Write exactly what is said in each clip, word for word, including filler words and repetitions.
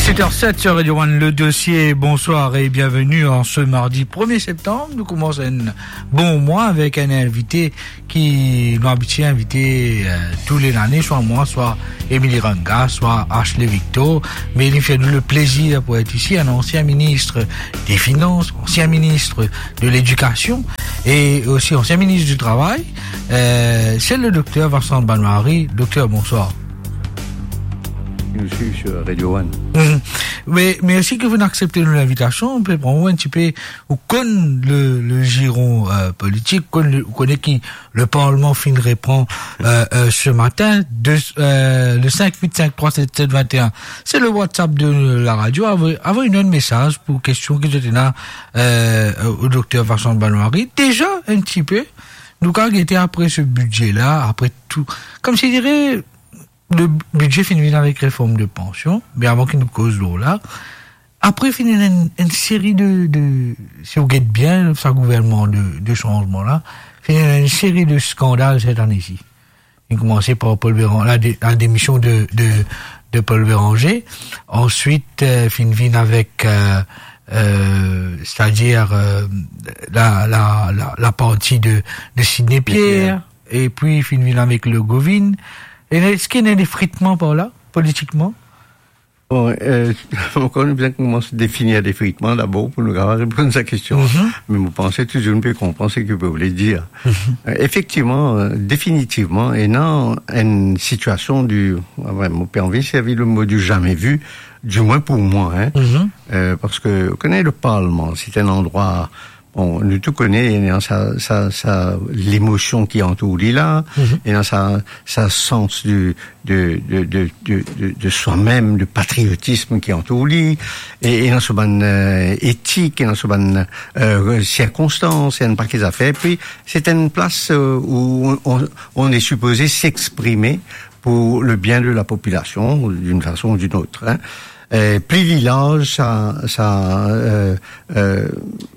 Huit heures sept sur Radio One, le dossier. Bonsoir et bienvenue en ce mardi premier septembre. Nou koumans enn bon mwa avek enn invite ki nou abitie invite, euh, tou le lane, swa mwa, swa Émilie Ranga, swa Ashley Victor. Me li fer nou le plezir pou et isi, enn ansien minis de finans, ansien minis de ledikasion e osi ansien minis di travay. Euh, se le dokter Vincent Banwari. Dokter, bonswar. Nou swiv sur Radio One. Mhm. Me mersi ke vinn aksepte nou linvitasion. Nou pe pran ou enn tipe, ou konn le, le jiron, euh, politik, ou konn le, ou kone ki le Parlman finn repran, euh, euh, se matin, de, euh, le cinq huit cinq trois sept sept vingt et un. Se le WhatsApp de la radio. Avoy, avoy nou enn mesaz pou kestion ki zot ena, euh, o dokter Vincent Banwari. Deza, enn tipe, nou kapav gete apre se bidze la, apre tou, koumsi dire, le bidze finn vinn avek reform de pansion, me avan ki nou koz lor la, apre finn ena enn, enn seri de, de, si ou get bien sa gouvernman de, de sanzman la, finn ena enn seri de skandal set ane isi. Finn koumanse par Paul Béran-, la dé-, la demision de, de, de Paul Béranger, answit, euh, finn vinn avek, euh, euh, setadir, euh, la, la, la, laparti de, de Sidney Pierre, epi finn vinn avek Le Govind. E eski ena defritman par la, politikman? Bon, euh, ankor nou bizin koumans definir defritman dabor pou nou kapav reponn sa kestion. Mhm. Me mo panse touzour nou pe konpran seki ou pe vle dir. Mhm. Euh, efektivman, euh, definitivman, ena enn sitiasion di, ah ouais, mo pe anvi servi le mo du jamais vu, dimwin pou mwa, hein. Mhm. Euh, parski, ou kone, le Parlman, se enn landrwa, bon, nou tou kone, ena sa, sa, sa, lemosion ki antour li la, mhm, ena sa, sa sans de, de, de, de, de, de, de soi-même, de patriotism ki antour li, e, ena so bann, euh, etik, ena so bann, euh, sirkonstans, ena enn pake zafer. Epi, se enn plas, euh, où on, on, on est supposé s'exprimer pour le bien de la population, d'une façon ou d'une autre, hein. Euh, pli li larz sa, sa, euh, euh,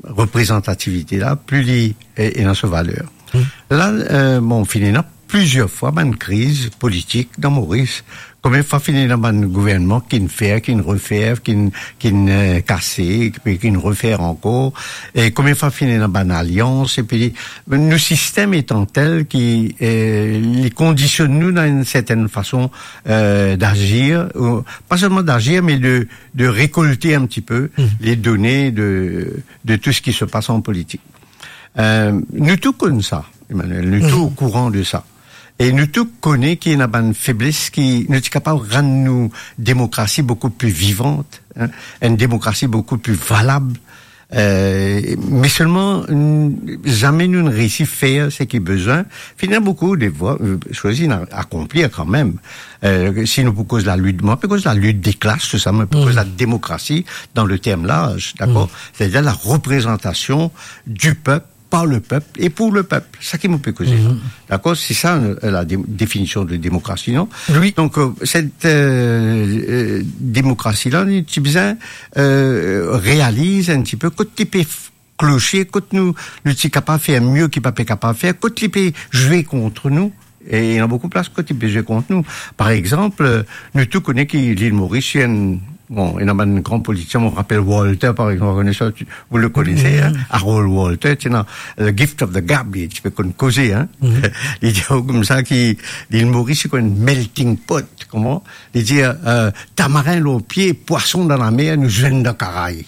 reprezantativite la, pli li, e, ena so valer. Hmm. La, euh, bon, finn ena plizier fwa bann kriz politik dan Moris. Konbien fwa finn ena bann gouvernman ki'nn fer, ki'nn refer, ki'nn, ki'nn, euh, kase, epi ki'nn refer ankor. E konbien fwa finn ena bann alians, epi nou sistem etan tel ki, euh, li kondisionn nou dan enn sertenn fason, euh, d'azir, ou, pa selman d'azir, me de, de rekolte enn tipe, mhm, les données de, de tout ce qui se passe en politique. Euh, nou tou konn sa, Emmanuel, nou tou, mhm, okouran de sa. E nou tou kone ki ena bann febles ki nou ti kapav rann nou demokrasi boukou pli vivant, hein, enn demokrasi boukou pli valab. Euh, me selman, n-, zame nou'nn reysi fer seki bizin. Finn ena boukou de vwa, euh, soz inn a-, akonplir kanmem. Euh, si nou pou koz lalit, mo pa pe koz lalit de klas, tou sa, me pou koz, mm, la demokrasi dan le term larz, dakor? Mm. Setadir la reprezantasion du pep, par le pep e pou le pep. Sa ki mo pe koze la. Mhm. Dakor? Se sa, euh, la dé-, definision de demokrasi, non? Wi. Donk, euh, set, euh, euh, demokrasi la, nou ti bizin, euh, realiz enn tipe kot li pe f-, kloche, kot nou, nou ti kapav fer mie ki pa pe kapav fer, kot li pe zwe kont nou. E ena boukou plas kot li pe zwe kont nou. Par exanp, euh, nou tou kone ki Lil Moris, enn, bon, ena bann gran politisien, mo rapel Walter, par exanp, vous connaissez, tu, vous le connaissez, hein, Harold Walter, ti ena, euh, gift of the gab, li ti pe konn koze, hein. Li dir koumsa ki Lil Moris, se kouma enn melting pot, kouma? Li dir, euh, tamarin lor pie, pwason dan lamer, nou zwenn dan karay.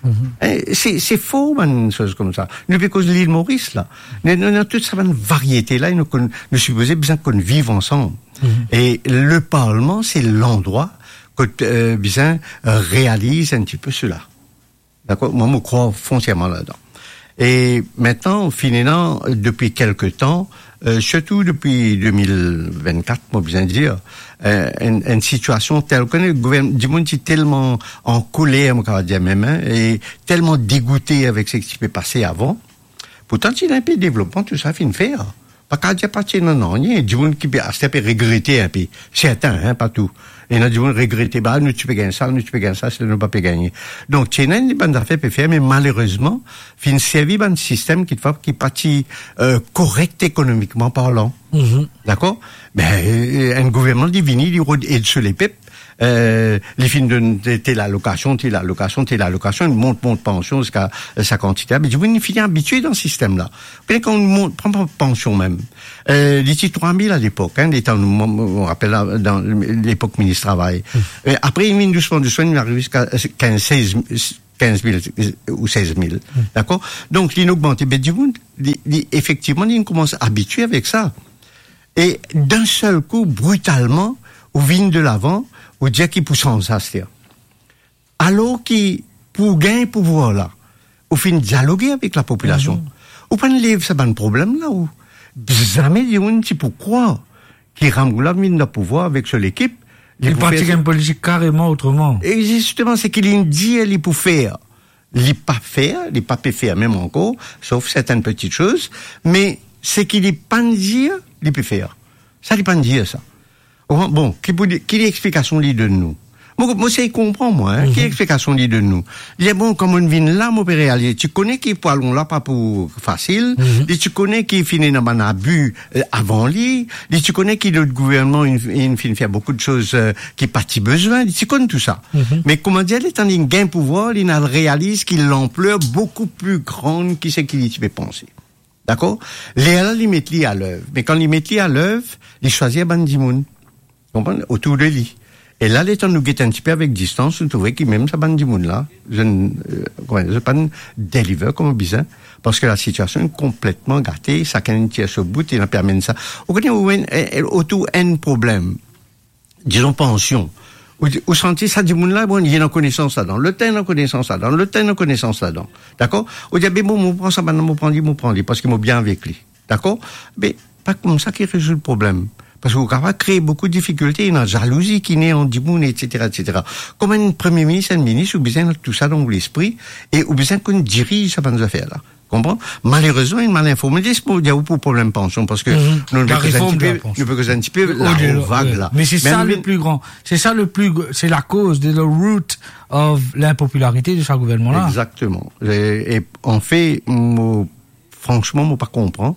Mhm. Eh, se, se for bann soz koumsa. Nou pe koz Lil Moris la. Nou, nou, nou ena tou sa bann variete la, e nou konn, nou sipoze bizin konn viv ansam. Mhm. E le Parlman, se landrwa kot, euh, bizin, euh, realiz enn tipe sela. Dakor? Mwa, mo krwar fontiaman ladan. E aster, finn ena, depi kelke tan, euh, sirtou depi de mil vennkat, mo bizin dir, euh, enn, enn sitiasion tel, ou kone, gouvern-, dimoun ti telman ankoler, mo kapav dir mem, hein, e telman degoute avek seki ti pe pase avan. Pourtan, ti ena enpe devlopman, tou sa finn fer. Pa kapav dir pa ti ena nanye, dimoun ki pe, aster pe regrete enpe. Sertin, hein, pa tou. Ena dimoun regrete, ba, nou ti pe gagn sa, nou ti pe gagn sa, si nou pa pe gagne. Donk, ti ena enn bann zafer pe fer, me malerezman, finn servi bann sistem ki, ki pa ti, euh, korek ekonomikman parlan. Mhm. Dakor? Be, euh, enn gouvernman, li vini, li rod ed so lepep, Eh, li finn donn te, te lalokasion, te lalokasion, te lalokasion, li mont, mont pansion ziska, eh, sa kantite. Me dimoun finn abitie dan sistem la. Pe kan ou mont, pran, pran pansion mem. Eh, li ti trwa mil alepok, hein, letan nou, mo, mo, mo rapel la, dan lepok minis travay. Eh, apre, li vinn dousman, dousman, li ariv ziska, eh, kinz, sez, kinz mil ou sez mil. Dakor? Donk, li inn ogmante, be dimoun, li, li, efektivman, li inn koumans abitie avek sa. E dan sel kou, britalman, ou vinn de lavan, ou dir ki pou sanz sa, aster. Alor ki pou gagn pouvwar la, ou finn dialoge avek lapopilasion. Ou pa'nn lev sa bann problem la, ou zame dimoun ti pou krwar ki Ramgoolam vinn dan pouvwar avek so lekip, li pou fer sa. Li parti gagn politik kareman otreman. E zisteman, seki li dir li pou fer, li pa fer, li pa pe fer mem ankor, sof sertenn peti soz, me seki li pa'nn dir, li pe fer. Sa li pa'nn dir sa. Bon, bon, ki pou li, ki explikasion li donn nou? Mo, mo sey konpran, mwa, hein, ki explikasion li donn nou? Li dir, bon, kan mo'nn vinn la, mo pe realize, ti kone ki pwalon la pa pou fasil, li ti kone ki finn ena bann abi, eh, avan li, li ti kone ki lot gouvernman inn, inn finn fer boukou de soz, eh, ki pa ti bizin, li ti konn tou sa. Me koumadir, letan li gagn pouvwar, li inn al realiz ki lanpler boukou pli gran ki seki li ti pe panse. Dakor? Lerla li met li a lev. Me kan li met li a lev, li swazir bann dimoun. Konprann? Otour de li. E la, letan nou get enn tipe avek distans, nou trouve ki mem sa bann dimoun la, zot, eh, kouma, zot pa'nn deliver kouma bizin, parski lasitiasion konpletman gate, sakenn tir so bout, e ena pe amenn sa. Ou kone, ou enn, eh, eh, otour enn problem. Dizon, pansion. Ou, ou santi sa dimoun la, bon, li ena konesans ladan, lot la ena konesans ladan, lot la ena konesans ladan. Dakor? Ou dir, be bon, mo pran sa bann la, mo pran li, mo pran li, parski mo bien avek li. Dakor? Me pa koumsa ki rezoud problem. Parski ou kapav kree boukou difikilte, ena zalouzi ki ne ant dimoun, etsetera, etsetera. Kouma enn premie minis, enn minis, ou bizin ena tou sa dan ou lespri, e ou bizin konn diriz sa bann zafer la. Konpran? Malerezman, inn mal informe. Les mo dir ou pou problem pansion, parski nou, nou pe koz enn tipe, nou pe koz enn tipe laro vag la. Me se sa le pli gran, se sa le pli gr-, c'est la cause de the root of l'impopularité de sa gouvernman la. Exactement. E, e anfet, mo, fransman, mo pa konpran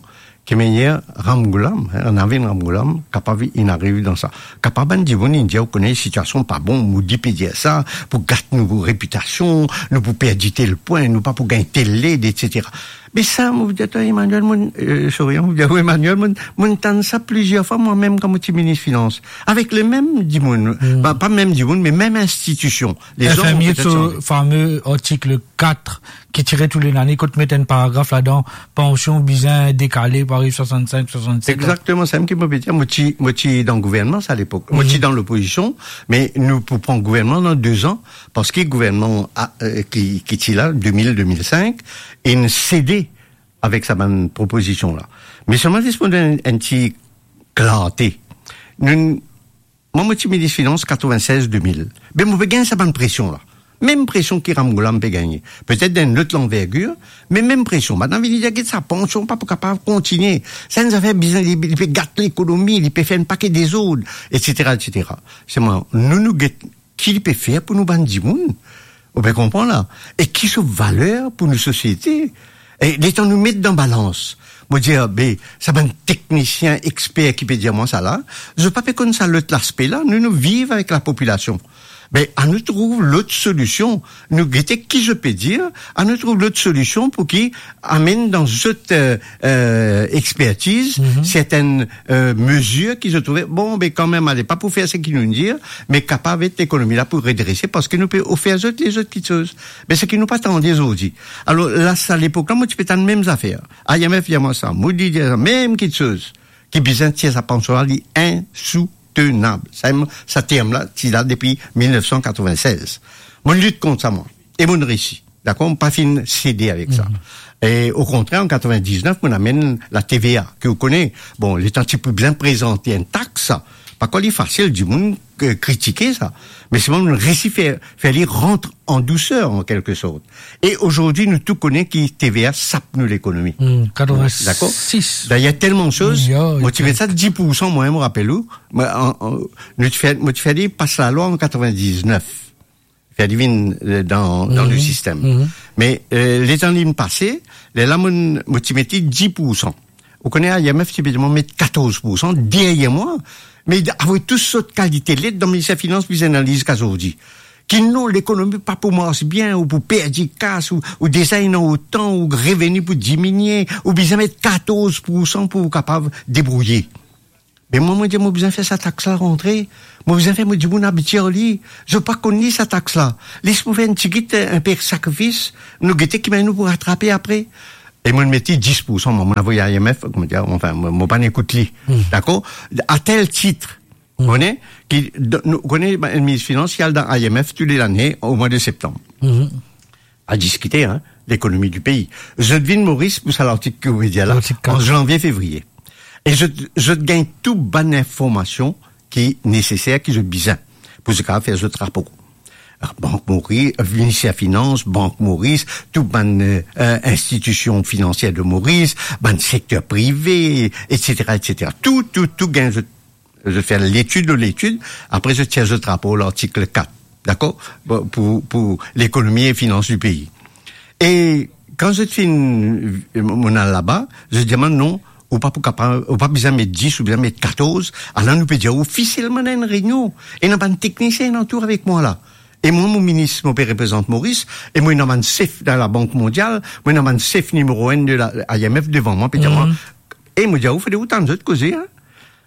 ki manier Ramgoolam, hein, Navin Ramgoolam, kapav inn ariv dan sa. Kapav bann dimoun inn dir, ou kone, sitiasion pa bon, Modi pe dir sa, pou gat nou repitasion, nou pou perdi tel pwin, nou pa pou gagn tel led, etsetera. Me sa, mo dir twa, Emmanuel, mo, eh, sorry, mo dir, Emmanuel, mo, mo tann sa plizier fwa, mwa mem, kan mo ti minis finans. Avek lemem dimoun, pa, pa mem dimoun, me mem institision. Lezanm, petet, so fame artik kat ki tire tou le lane, kot met enn paragraf ladan, pansion bizin dekale pou ariv swasann-sink, swasann-set an. Exactement, sa mem ki mo pe dir. Mo ti, mo ti dan gouvernman sa lepok. Mo ti dan lopozision, me nou pou pran gouvernman dan de zan, parski gouvernman a, eh, ki, ki ti la, de mil, de mil sink, inn sede avek sa bann propozision la. Me selman, les mo donn enn, enn ti klarte. Nou, mwa, mo ti minis finans katrevinsez de mil. Be, mo pe gagn sa bann presion la. Mem presion ki Ramgoolam pe gagne. Petet dan enn lot lanvergir, me mem presion. Bann la vini dir, get sa, pansion pa pou kapav kontigne. Sa enn zafer bizin, li, li pe gat lekonomi, li pe fer enn paket dezord, etsetera, etsetera. Selman, nou, nou get ki li pe fer pou nou bann dimoun. Ou pe konpran la? E ki so valer pou nou sosiete? E letan nou met dan balans, mo dir, be, sa bann teknisien, exper ki pe dir mwa sa la, zot pa pe konn sa lot laspe la, nou, nou viv avek lapopilasion. Be, anou trouv lot solision. Nou gete ki zot pe dir, anou trouv lot solision pou ki amenn dan zot, eh, eh, expertiz, sertenn, eh, mezir ki zot trouve, bon, be, kanmem, ale, pa pou fer seki nou dir, me kapav ed lekonomi la pou redrese, parski nou pe ofer zot lezot kitsoz. Me seki nou pa tande zordi. Alor, la, sa lepok la, mo ti pe tann mem zafer. I M F dir mwa sa, Modi dir sa, mem kitsoz. Ki bizin tir sa pansion la, li insoutenab. Sa, sa term la, ti la depi mil nef san katrevinsez. Mo lit kont sa, mwa. E mo resi. Dakor, mo pa finn sede avek sa. E okontrer, an katrevindiznef, mo amenn la T V A, ki ou kone, bon, letan ti pou bizin prezante enn tax, pa krwar li fasil, dimoun, eh, kritike sa. Me selman, nou resi fer, fer li rant an douser, an kelke sort. E azordi, nou tou kone ki T V A sap nou lekonomi. Dakor? Dayrer, telman soz, mo ti met sa dis poursan, mwa, mo rapel ou, mo, an, an, nou ti fer, mo ti fer li pas lalwa an katrevindiznef. Fer li vinn, eh, dan, dan le sistem. Me, eh, letan li pase, lerla mo, mo ti met li dis poursan. Ou kone, I M F ti pe demann met katorz poursan deryer mwa. Me avek tou sort kalite led dan Minister Finans, bizin analiz ka zordi. Ki non, lekonomi pa pou mars bien, ou pou perdi kas, ou, ou deza ena otan, ou reveni pou diminie, ou bizin met katorz poursan pou ou kapav debrouye. Me mwa, mo dir, mo bizin fer sa tax la rantre, mo bizin fer mo dimoun abitie ar li, zot pa konn li sa tax la. Les mo fer enn tigit, eh, inpe sakrifis, nou gete ki manier nou pou ratrape apre. E mo met li dis poursan, mwa, mo avoy I M F, kouma dir, anfin, mo, mo pa'nn ekout li. Hmm. Dakor? A tel tit, Hmm. Ou kone, ki, d-, nou, ou kone, bann minis finans, li al dan I M F tou le lane, o mwa de septanm. Hmm. A diskite, hein, lekonomi di pei. Zot vinn Moris pou sa lartik ki ou pe dir la, Lartik kat. An zanvie, fevriye. E zot, zot gagn tou bann informasion ki neseser, ki zot bizin, pou zot kapav fer zot rapo. Bank Moris, Minister Finans, Bank Moris, tou bann, eh, eh, institision finansier de Moris, bann sekter prive, et cetera, et cetera. Tou, tou, tou gagn zot Zot fer letid lor letid, apre zot tir zot rapor, lartik kat, dakor? Bon, pou, pou lekonomi e finans di pei. E kan zot finn, eh, mo al laba, zot dir mwa, "Non, ou pa pou kapav, ou pa bizin met dis, ou bizin met katorz." Ala nou pe dir ofisielman dan enn reynion. Ena bann teknisien alantour avek mwa la. E mwa, mo minis, mo pe reprezant Moris, e mwa, ena bann sef dan Labank Mondial, mwa, ena bann sef nimero enn de la I M F devan mwa, pe dir mwa, Mhm. E mo dir, "Ou fode ou tann zot koze, hein?"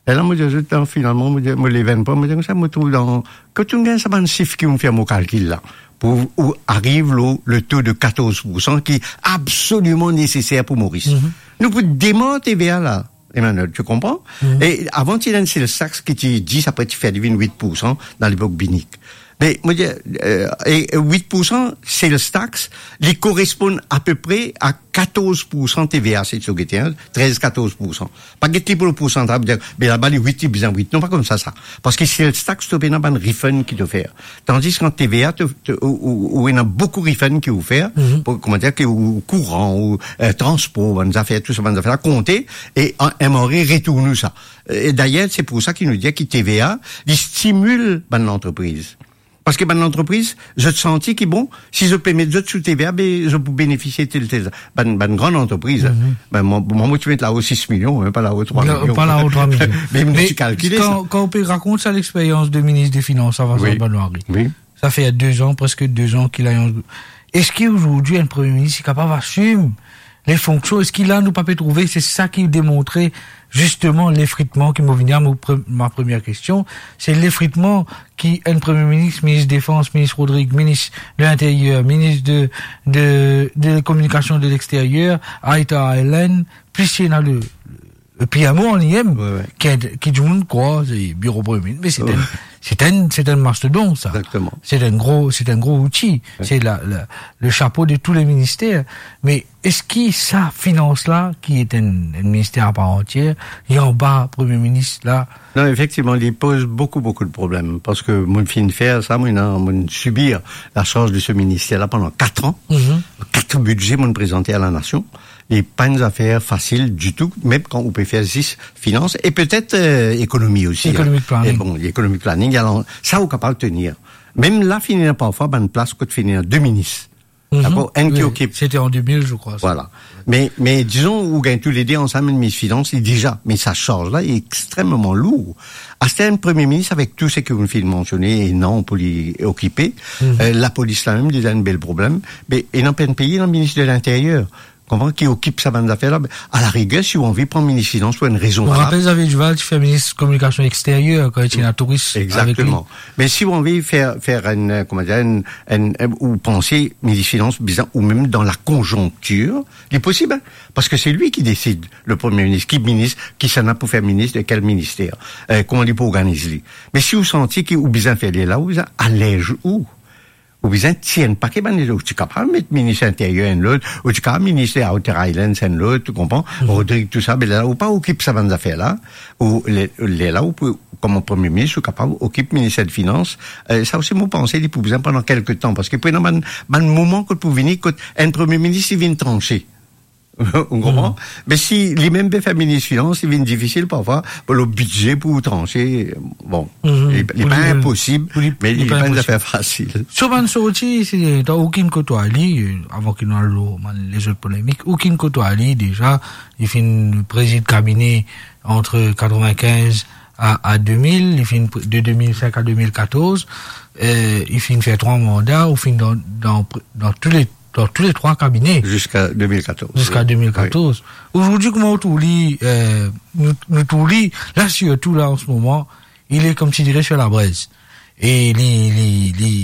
E la, mo dir zot, dan, finalman, mo dir, mo lev enn pwa, mo dir koumsa, mo trouv dan, kot ou gagn sa bann sif ki ou fer mo kalkil la, pou ou ariv lor le to de katorz poursan ki absoliman neseser pou Moris. Mhm. Nou pou demar T V A la, Emmanuel, tu konpran? Mhm. E avan, ti ena enn sel tax ki ti dis, apre ti fer li vinn wit poursan dan lepok Binic. Me, mo dir, eh, e, e wit poursan sel tax, li koresponn apepre a katorz poursan T V A, si to gete, hein, trez, katorz poursan. Pa get li pou le poursantaj, dir, be laba li wit, li bizin wit. Non, pa koumsa sa. Parski sel tax, to pena bann refund ki to fer. Tandis ki an T V A, to, to, ou, ou, ou ena boukou refund ki ou fer, Mhm. pou, kouma dir, ki ou kouran, ou, eh, transpor, bann zafer, tou sa, bann zafer la konte, e an, M R A retourn ou sa. E dayer, se pou sa ki nou dir ki T V A, li stimil bann lantrepriz. Parski bann lantrepriz, zot santi ki, bon, si zot pe met zot sou T V A, be, zot pou benefisie tel, tel, bann, bann gran lantrepriz, hein. Mhm. Be, mwa, mwa, mo ti met lao sis milion, hein, pa lao trwa Non, milion. Pa lao trwa milion. Me nou ti kalkile sa. Kan, kan ou pe rakont sa, lexperyans de minis de finans, Vincent Wi. Benoît Henry, Wi. Sa fer de zan, preske de zan ki la, eski azordi enn premie minis li kapav asim les fonksion, eski la nou pa pe trouve, se sa ki demontre zisteman lefritman ki mo vini a mo pre-, ma premie kestion, se lefritman ki enn premie minis, minis defans, minis Rodrigue, minis de linteryer, minis de, de, de kominikasion de lexteryer, Aita Island, plis ena le, le P M O an li mem, Wi, wi. Ki, ki dimoun krwar se biro premie minis, me se enn, Wi. Se enn, se enn mastodon sa. Exactement. Se enn gro, se enn gro outi. Wi. Se la, la, le chapo de tou le minister. Me eski sa finans la, ki enn, enn minister a par antier, li anba premie minis la? Non, efektivman, li poz boukou, boukou de problem, parski mo finn fer sa, mo, non, mo sibir la sarz de se minister la pandan kat an. Mhm. Kat bidze mo prezante a lanasion. Li pa enn zafer fasil ditou, mem kan ou pe fer zis finans, e petet, eh, ekonomi osi, hein. Economic planning. E bon, economic planning, alor, sa ou kapav tenir. Mem la, finn ena parfwa bann plas kot finn ena de minis. Mhm. Dakor? Enn ki Wi, okip. C'était en deux mille, je crois, ça. Voilà. Me, me dizon, ou gagn toulede ansam enn minis finans, li deza, me sa sarz la, li extrememan lour. Aster enn premie minis avek tou seki ou finn mansione, e non pou li okipe, Mhm. eh, lapolis la mem, deza enn bel problem. Me, ena enn pei, ena minis de linteryer. Konpran, ki okip sa bann zafer la. A la riger, si ou anvi pran minis finans pou enn rezon Mo valab. Rapel Xavier Duval ti fer minis kominikasion exteryer kan li ti ena Touris avek li. Exactement. Me si ou anvi fer, fer enn, eh, kouma dir, enn, enn, enn, ou panse minis finans bizin, ou mem dan la konjonktir, li posib, hein, parski se li ki desid, le premie minis, ki minis, kisannla pou fer minis de kel minister, eh, kouma li pou organiz li. Me si ou santi ki ou bizin fer li la, ou bizin alez ou. Ou bizin tir enn pake bann lezot, ou ti kapav met minis linteryer enn lot, ou ti kapav minis Outer Islands enn lot, ou konpran? Mhm. Rodrigue, tou sa, be la, ou pa okip sa bann zafer la, ou le, lerla ou pou, kouma premie minis, ou kapav okip minister de finans. Eh, sa osi, mo panse, li pou bizin pandan kelke tan, parski pou ena bann, bann moman kot pou vini, kot enn premie minis, li vinn transe. Ou konpran? Mhm. Me si li mem pe fer minis finans, li vinn difisil parfwa pou le bidze pou transe. Bon, Mhm. li, li Pou pa li, inposib, pou li, me li li pa pa enn inposib. Zafer fasil. So bann sorti, se, dan okenn kote ou al li, eh, avan ki nou al lor bann lezot polemik, okenn kote ou al li deza, li finn prezid kabine ant katrevinkinz a, a de mil, li finn pre-, de de mil senk a de mil katorz, eh, li finn fer trwa manda, ou finn dan, dan, dan tou le, dan tou le trwa kabine. Ziska de mil katorz, ziska wi. De mil katorz. Wi. Azordi, kouma ou trouv li, eh, nou, nou trouv li, la, sirtou la, an se moman, il est, comme tu dirais, sur la braise. E li, li, li,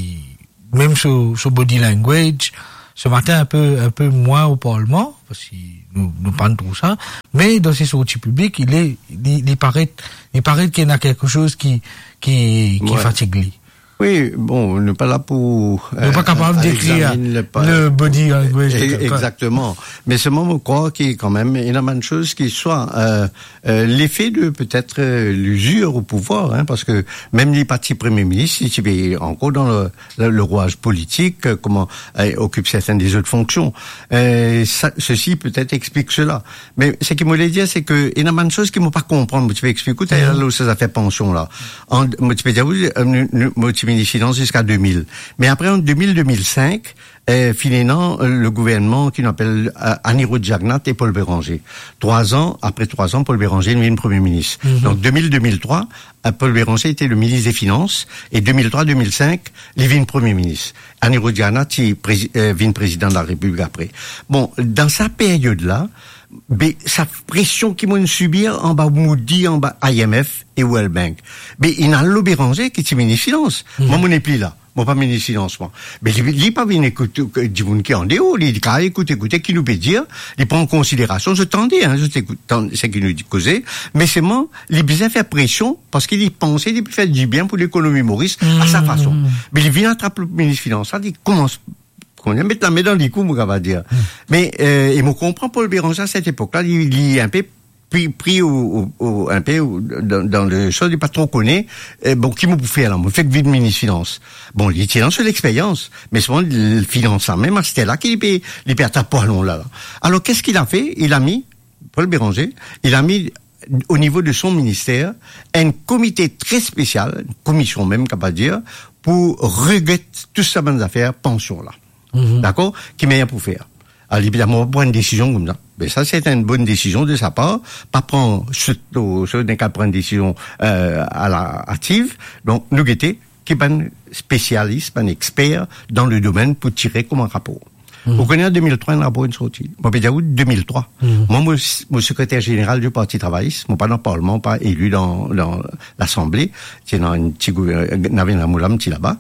mem so, so body language, se matin inpe, inpe mwin o parlman, parski nou, nou pa'nn trouv sa, me dan se sorti piblik, il est, li, li paret, li paret ki ena kiksoz ki, ki, ki fatig li. Wi, bon, nou pa la pou, nou pa, eh, kapav dekrir le body language de kelkenn. Exactement. Me selman, mo krwar ki kanmem, ena bann soz ki swa, eh, eh, lefe de petet, eh, lizir o pouvwar, hein, parski mem li pa ti premie minis, li ti pe ankor dan le, le, le rwaz politik, eh, kouma, eh, okip sertenn dezot fonksion. Eh, sa, sesi petet explik sela. Me seki mo le dir, se ki ena bann soz ki mo pa konpran, mo ti pe explik ou taler lor sa zafer pansion la. An, mo ti pe dir ou, eh, nou, nou, mo ti minis finans ziska de mil. Me apre, an de mil, de mil senk, eh, finn ena, eh, le gouvernman ki nou apel, eh, Anirudh Jagannath e Paul Bérenger. Trwa an, apre trwa an, Paul Bérenger vinn premie minis. Donk, de mil, de mil trwa, eh, Paul Bérenger ti le minis de finans, e de mil trwa, de mil senk, li vinn premie minis. Anirudh Jagannath ti prezi-, eh, vinn prezidan de la Repiblik apre. Bon, dan sa period la, be, sa presion ki mo'nn sibir anba Moody's, anba I M F e World Bank, be, inn al lor Bérenger ki ti minis finans. Mwa, mo nepli la. Mo pa minis finans, mwa. Me li, li pa vinn ekout, eh, dimoun ki andeor, li, li kapav ekout, ekoute ki nou pe dir, li pran an konsiderasion, zot tande, hein, zot ekout, tann seki nou di koze, me selman, li bizin fer presion, parski li panse li pe fer dibien pou lekonomi Moris, a sa fason. Me li vinn atrap minis finans la, li koumans, kouma dir, met lame dan likou, mo kapav dir. Me, eh, e mo konpran Paul Bérenger, a set epok la, li, li inpe pri, pri o, o, o, inpe o, dan, dan le sans, li pa tro kone, eh, bon, ki mo pou fer la, mo fek vinn minis finans. Bon, li ti ena so lexperyans, me selman, l-, finans la mem, aster la ki li pe, li pe atrap pwalon la, la. Alors, qu'est-ce qu'il a fait ? Il a mis, Paul Bérenger, il a mis au niveau de son ministère un comité très spécial, une commission même, kapav dir, pou reget tou sa bann zafer pansion la. Dakor ? Ki manier pou fer. Alor, li pe dir, mo pa pran enn desizion koumsa. Me sa, se enn bonn desizion de sa par, pa pran, sirtou, sirtou dan ka pran enn desizion, eh, a la ativ. Donk, nou gete ki bann spesialis, bann exper dan le domenn pou tire kouma rapor. Ou kone, an de mil trwa, enn rapor inn sorti. Mo pe dir ou, de mil trwa. Mwa, mo, mo sekreter zeneral di Parti Travayis, mo pa dan parlman, pa eli dan, dan Lasanble, ti ena enn ti gou-, eh, Navin Ramoula, mo ti laba,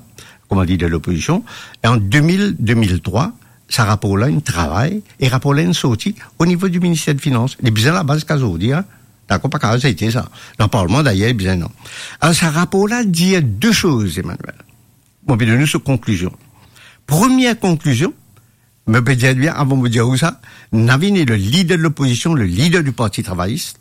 kouma lider lopozision. E an de mil, de mil trwa, sa rapor la inn travay, e rapor la inn sorti o nivo di Minister di Finans. Li bizin laba ziska zordi, hein. Dakor, pa kapav zete sa. Dan parlman, dayer, li bizin, non. Alor, sa rapor la dir de soz, Emmanuel. Mo pe donn ou so konklizion. Premie konklizion, mo pe dir bien, avan mo dir ou sa, Navin est le leader de l'opposition, le leader du Parti travailliste,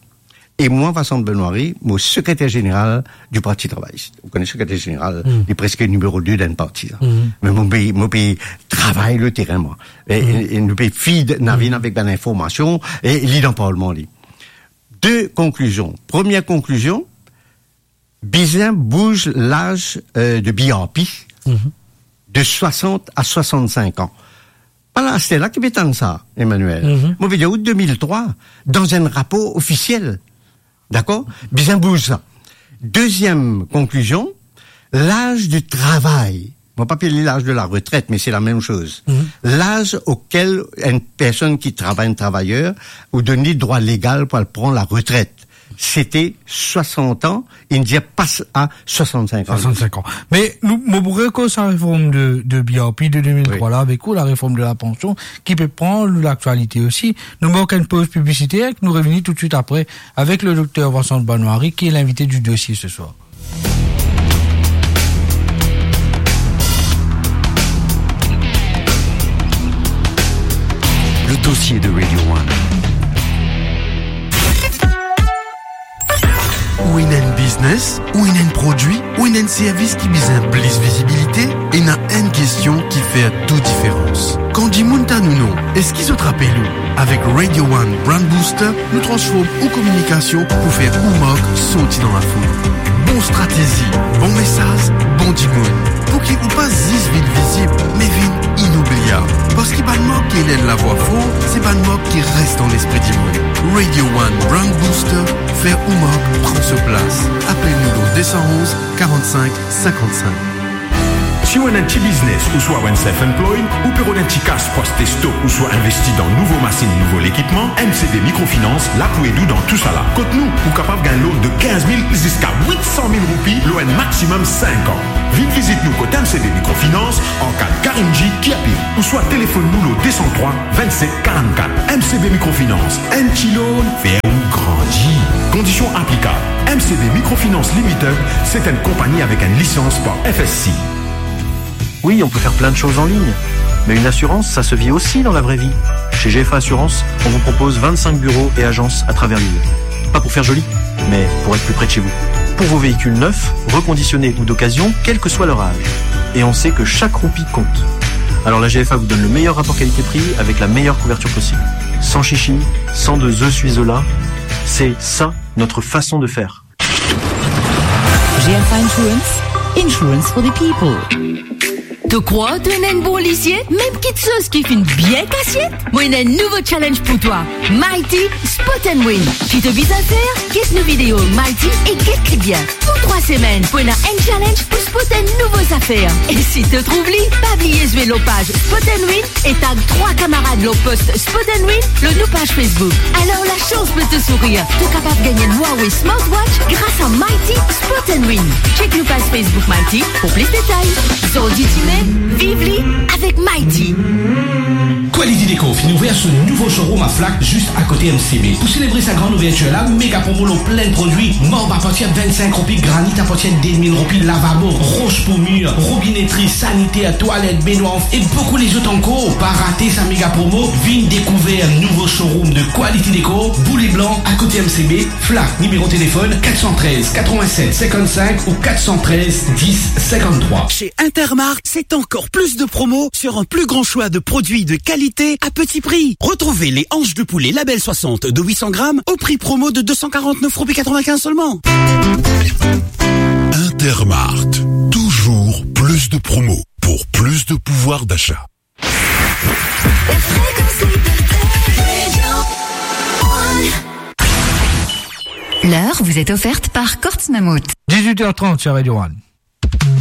e mwa, Vincent Benoary, mo sekreter zeneral di Parti Travayis. Ou kone sekreter zeneral, li preske nimero de dan parti la. Me mo pe, mo pe travay le terin, mwa. E, e, e nou pe feed Navin avek bann informasion, e li dan parlman, li. De konklizion. Premie konklizion, bizin bouz laz, eh, de B R P de swasant a swasannsink an. Pa la, aster la ki pe tann sa, Emmanuel. Mo pe dir ou de mil trwa, dan enn rapor ofisiel. Dakor ? Bizin bouz sa. Deziem konklizion, laz di travay. Mo pa apel li laz de la retret, me se la mem soz. Laz okel enn personn ki travay, enn travayer, ou donn li drwa legal pou al pran la retret. Sete swasant an, inn dir pas a swasannsink an. Swasannsink an. Me nou, mo pou rekoz sa reform de, de B R P de de mil trwa la avek ou, la reform de la pansion, ki pe pran laktialite osi. Nou mark enn poz piblisiter, nou revini toutswit apre avek le dokter Vincent Benoary, ki est l'invité du dossier ce soir. Le dossier de Radio One. Ou ena enn biznes, ou ena enn prodwi, ou ena enn servis ki bizin plis vizibilite, ena enn kestion ki fer tou diferans. Kan dimoun tann ou non, eski zot rapel ou? Avek Radio One Brand Booster, nou transform ou kominikasion pou fer ou mark sorti dan lafoul. Bon stratezi, bon mesaz, bon dimoun. Pou ki ou pa zis vinn vizib, me vinn inoubliab. Parski bann mark ki ena enn lavwa for, se bann mark ki res dan lespri dimoun. Radio One Brand Booster, Ou mark pran so plas. Apel nou lor deux cent onze, quarante-cinq, cinquante-cinq. Si ou ena enn ti biznes ouswa ou enn self-employed, ou pe rod enn ti kas pou aste stok ouswa investi dan nouvo masinn, nouvo lekipman, M C B Microfinance la pou ed ou dan tousala. Kot nou, ou kapav gagn loan de quinze mille ziska huit cent mille roupi lor enn maximum cinq an. Vinn vizit nou kot M C B Microfinance, Arcade Karimjee, Kirpil, ouswa telefonn nou lor deux cent trois, vingt-sept, quarante-quatre. M C B Microfinance, enn ti loan, fer ou grandi. Conditions applicables. M C B Microfinance Limited, c'est une compagnie avec une licence par F S C. Oui, on peut faire plein de choses en ligne, mais une assurance, ça se vit aussi dans la vraie vie. Chez G F A Assurance, on vous propose vingt-cinq bureaux et agences à travers l'île. Pas pour faire joli, mais pour être plus près de chez vous. Pour vos véhicules neufs, reconditionnés ou d'occasion, quel que soit leur âge. Et on sait que chaque roupie compte. Alors la G F A vous donne le meilleur rapport qualité-prix avec la meilleure couverture possible. Sans chichi, sans de je suis là, c'est ça notre façon de faire. G F A Insurance, insurance for the people. To krwar to ena enn bon lizie, mem kitsoz ki finn bien kasiet? Mo ena enn nouvo challenge pou twa, Mighty Spot and Win. Ki to bizin fer? Get nou video Mighty e get li bien. Tou trwa semenn pou ena enn challenge pou spot enn nouvo zafer. E si to trouv li, pa bliye zwe lor paz Spot and Win e tag trwa kamarad lor post Spot and Win lor nou paz Facebook. Alor lasans pe to sourir, to kapav gagn enn Huawei Smartwatch gras a Mighty Spot and Win. Check nou paz Facebook Mighty pou plis detay. Zordi dime, viv li avek Mighty. Quality Decor finn ouver so nouvo showroom a Flacq, zis akote M C B. Pou selebre sa gran ouvertir la, mega promo lor plin prodwi, marb apartir vennsenk roupi, granit apartir de mil roupi, lavabo, ros pou mir, robinetri, saniter, twalet, benwar e boukou lezot ankor. Pa rate sa mega promo, vinn dekouver nouvo showroom de Quality Decor, Boule Blan, akote M C B, Flacq, nimero telefonn quatre cent treize quatre-vingt-sept cinquante-cinq ou quatre cent treize dix cinquante-trois. Chez Intermark, c'est encore plus de promos sur un plus grand choix de produits de qualité à petit prix. Retrouvez les hanches de poulet Label soixante de huit cents grammes au prix promo de deux cent quarante-neuf roupies quatre-vingt-quinze seulement. Intermark, toujours plus de promos pour plus de pouvoir d'achat. L'heure vous est offerte par Courts Mammouth. Dix-huit heures trente sur Radio One.